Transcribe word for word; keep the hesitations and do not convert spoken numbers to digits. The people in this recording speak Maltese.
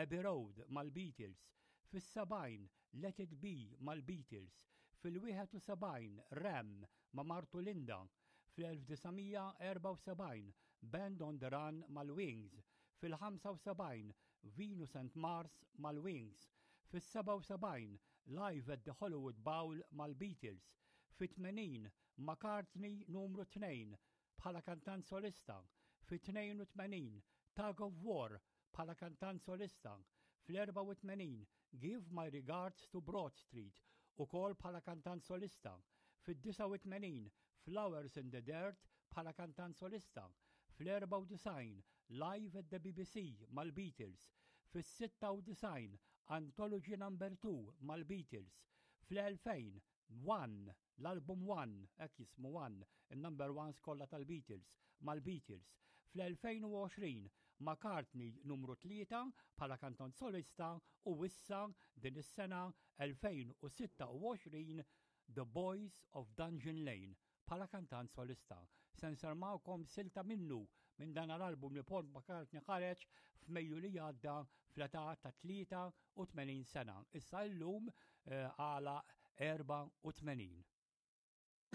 Abbey Road mal-Beatles, fis-sebgħin Let It Be mal-Beatles, fil-wieħed u sebgħin Ram ma' martu Linda, fl-elf disa' mija erbgħa u sebgħin Band on the Run mal-Wings, fil-ħamsa u sebgħin Venus and Mars mal-Wings, fis-sebgħa u sebgħin Live at the Hollywood Bowl mal-Beatles, fit-tmenin McCartney numru tnejn bħala kantant solista, fit-tnejn u tmenin Tug of War bħala kantant solista, fl-erbgħa u tmenin Give My Regards to Broad Street ukoll bħala kantant solista, fid-disgħa u tmenin Flowers in the Dirt bħala kantant solista, fl-erbgħa u disgħin Live at the B B C mal-Beatles, fis-sitta u disgħin Anthology Number two mal-Beatles, fl-elfejn One, l-album One, hekk jismu One, il-number ones kollha tal-Beatles, mal-Beatles. Fl-elfejn u għoxrin McCartney numru tlieta bħala kantant solista u issa din is-sena elfejn u sitta u għoxrin The Boys of Dungeon Lane bħala kantant solista. Se nsemmgħukom silta minnu minn dan l-album li Paul McCartney ħareġ f'Mejju li għadda fl-età ta' tlieta u tmenin sena. Issa llum eh, għala erbgħa u tmenin.